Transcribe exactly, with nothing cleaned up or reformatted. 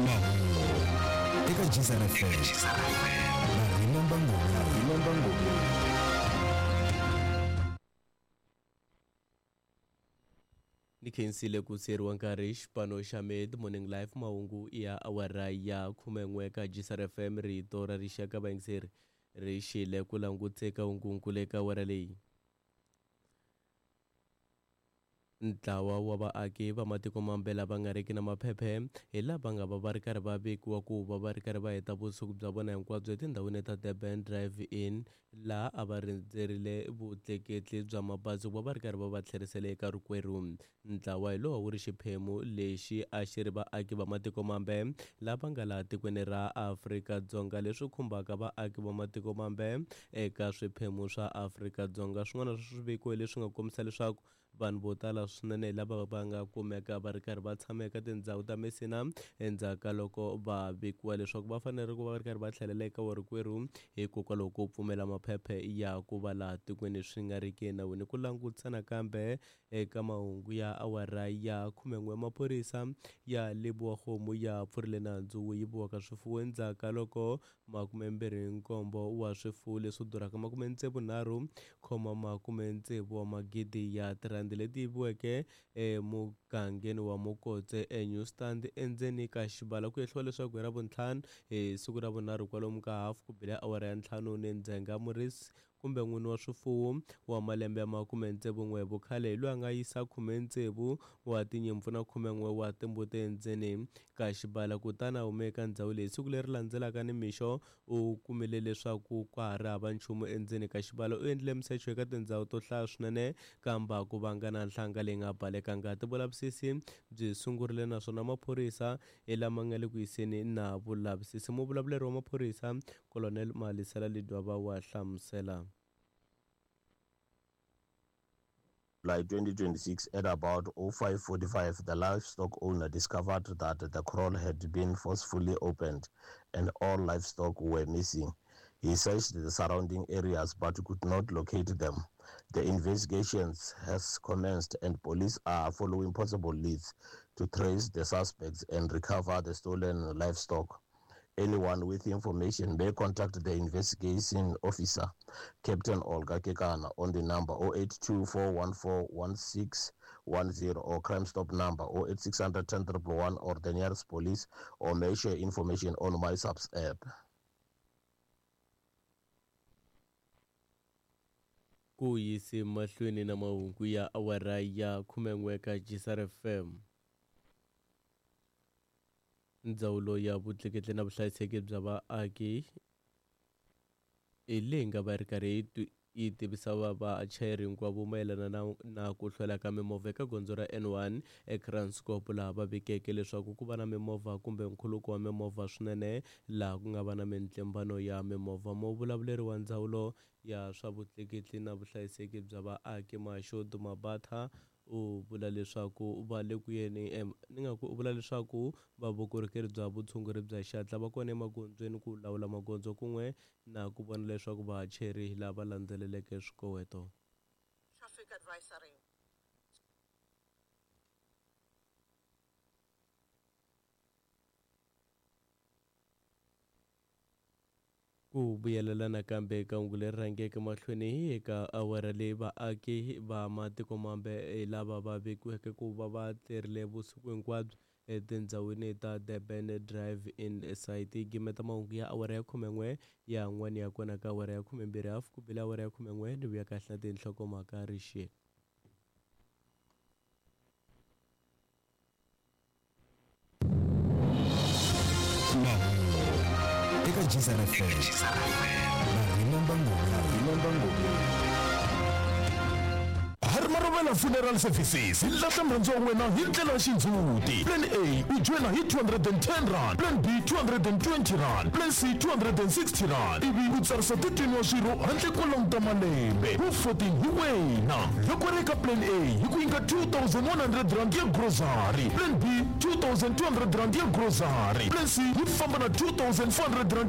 Mahungu eka Jizana F M na Rina Mbangoni. Ni khensile ku siyeriwa nkarhi xipano xa Mid Morning Live mahungu ya awara ya khumen'we ka Jisar F M rito ra rixaka vayingiseri ri xile ku languteka hungunkulu eka awara leyi. Ntlawa wa vaaki va matiko mambe lava nga riki na maphephe hi lava nga va va ri karhi va vekiwa ku va va ri karhi va heta vusiku bya vona hinkwabyo etindhawini ta Durban Drive Inn laha a va rindzerile vutleketli bya mabazi ku va va ri karhi va va tlherisela eka rikwerhu. Ntlawa hi lowu wu ri xiphemu lexi a xi ri vaaki va matiko mambe lava nga laha tikweni ra Afrika-Dzonga leswi khumbaka vaaki va matiko mambe eka swiphemu swa Afrika-Dzonga. Swin'wana swa swiviko leswi nga kombisa leswaku vanhu vo tala swinene lava va nga kumeka va ri karhi va tshama eka tindhawu ta Messina endzhaku ka loko va vikiwa leswaku va fanele ku va va ri karhi va tlhelela eka warikwerhu hikokwalaho ko pfumela maphephe ya ku va laha tikweni swi nga ri ki enawini. Ku langutisa nakambe eka mahungu ya awara ya khumen'we maphorisa ya Lebowa-Kgomo ya pfurile nandzu wo yiviwa ka swifuwo endzhaku ka loko makumembirhi nkombo wa swifuwo leswi durhaka makumetsevu nharhu khoma makumetsevu wa magidi ya tirhandi leti yiviweke emugangeni wa Mokotse eNew Stand endzeni ka xibala. Ku hehliwa leswaku hi Ravuntlhanu hi siku ra vunharhu kwalomu ka hafu ku bile awara ya ntlhanu ni ndzhenga murisi kumbe n'wini wa swifuwo wa malembe ya makumetsevu n'we hi vukhale hi loyi a nga yisa khumetsevu wa tinyimpfu na khumen'we wa timbuti endzeni ka xibala kutani a huma eka ndhawu leyi. Siku leri landzelaka nimixo u kumile leswaku ka ha ri hava nchumu endzeni ka xibala. U endlile misecho eka tindhawu to hlaya swinene kambe a ku vanga na nhlanga leyi nga baleka ngati. Vulavisisi byi sungurile naswona maphorisa hi lama nga le ku yiseni na vulavisisi. Muvulavuleri wa maphorisa Colonel Malisela Lidwaba wa hlamusela. July twenty twenty-six at about oh five forty-five, the livestock owner discovered that the kraal had been forcefully opened and all livestock were missing. He searched the surrounding areas but could not locate them. The investigations has commenced and police are following possible leads to trace the suspects and recover the stolen livestock. Anyone with information may contact the investigation officer, Captain Olga Kekana, on the number oh eight two four one four one six one zero or Crime Stop number oh eight six hundred ten triple one or the nearest police, or may share information on MySAPS app. Ku yisi mahlweni na mahungu ya awara ya khumen'we ka Jisar F M. Ndzawulo ya vutleketli na vuhlayiseki bya vaaki hi leyi nga va ri karhi yi tivisa va vachayeri hinkwavo mayelana na, na ku hlwela ka mimovha eka gondzo ra N one eKranskop laha va vikeke leswaku ku va na mimovha kumbe nkhuluko wa mimovha swinene laha ku nga va na mintlimbano ya mimovha. Muvulavuleri wa ndzawulo ya swa vutleketli na vuhlayiseki bya vaaki Mashodu Mabatha u vula leswaku va le ku yeni ni nga ku u vula leswaku va vukorhokeri bya vutshunguri bya xihatla va kona emagondzweni ku lawula magondzo kun'we na ku vona leswaku vachayeri lava landzeleleke swikoweto. Traffic advisory. Ku vuyelela nakambe eka hungu leri rhangeke mahlweni eka awara leyi vaaki va matiko mambe hi lava va vekiweke ku va va tlerile vusiku hinkwabyo etindhawini ta Durban Drive Inn site. Gimeta mahungu ya awara ya khumen'we ya n'wana ya kona ka awara ya khumembirhi hafu ku bile awara ya khumen'we ni vuya kahle na tinhlokomhaka rixile. Eka Jisar F M na Rina Mbangoni. Harmarovela Funeral Services hi lahla murhandzi wa wena hi ndlela ya xindzhuti. Plan A u joyina hi two hundred and ten rand, Plan B two hundred and twenty rand, Plan C two hundred and sixty rand. Ivi u tsarisa thirteen wa swirho handle ko languta malembe. Wu fourteen hi wena. Loko ri eka Plan A hi ku nyika two thousand one hundred rand ya grocery, Plan B two thousand two hundred rand ya grocery, Plan C yi famba na two thousand four hundred rand.